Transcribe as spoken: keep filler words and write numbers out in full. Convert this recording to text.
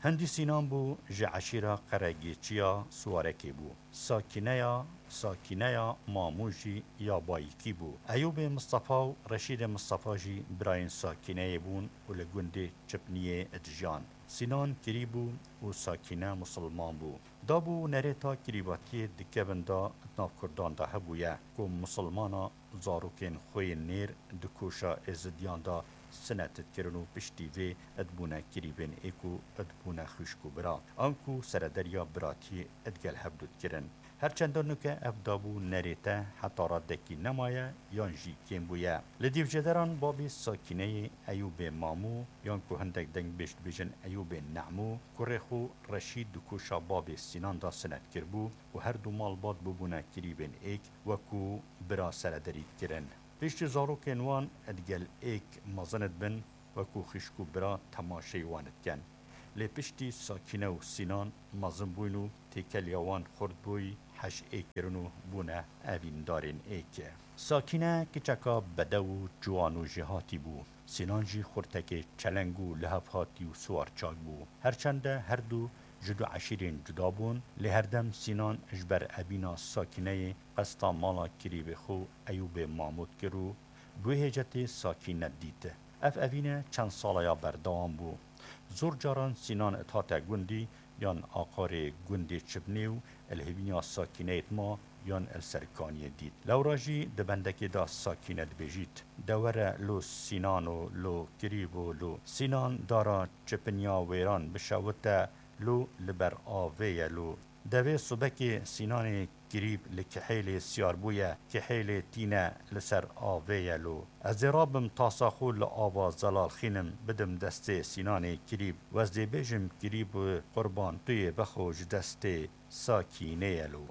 Hindî Sînan bû, ji eşîra Qeregêçiya Siwarekê bû. Sakîneya, Sakîneya Mamû jî ya Bayikî bû. Eyûbê Mistefa û Reşîdê Mistefa jî birayên Sakîneyê bûn û li gundê Çipniyê dijiyan. Sînan kirî bû û Sakîne misilman bû. Dab û nerêta kirîbatiyê di kevin de di nav Kurdan de hebûye ku misilmana zarokên xwe yên nêr di koşa Êzidiyan de sinet dikirin û piştî vê dibûne kirîbên êk û dibûne xwişk û bira, anku serederiya biratiyê digel hev du dikirin. Her çend nuke ev dab û nerête heta radekî nemaye yan jî kêm bûye. Li dîvjêderan babê Sakîneyê Eyûbê Mamû, yan ku hindek dengbêj dibêjin Eyûbê Nemû, kurê xwe Reşîd di koşa babê Sînan de sinet kiribû û her du malbat bûbûne kirîbên êk, wekû bira serederî dikirin. Piştî zarokên wan digel êk mezin dibin, wekû xwişk û bira temaşeyî wan dikin. Lê piştî Sakîne û Sînan mezin bûyn û têkeliya wan xurt bûyî, heş êk kirin û bûne evîndarên êk. Sakîne kiçeka bedew û ciwan û jêhatî bû. Sînan jî xurtekê çeleng û lihevhatî û siwarçak bû. Her çende her du ji du eşîrên cuda bûn, lê herdem Sînan ji ber evîna Sakîneyê qesta mala kirîbê xwe Eyûbê Mamû dikir û bi wê hêcetê Sakîne dît. Ev evîne çend sala ya berdewam bû. Zor caran Sînan dihate gundî yan aqarê gundê Çibnê û li hêvîna Sakîneyê dima yan li ser kaniyê dît. Lewra jî di bendekê de Sakîne dibêjît, De were lo Sînan û lo kirîb û lo Sînan dara Çipniya wêran bişewite, lo li ber avê ye lo. Devê subekê Sînanê kirîb li kihêlê siyar bûye, kihêlê tîne li ser avê ye lo. Ez ê rabim tasa xwe li ava zelal xînim, bidim destê Sînanê kirîb. Ez dê bêjim kirîb û qurban tu yê bixwe ji destê Sakînê ye lo.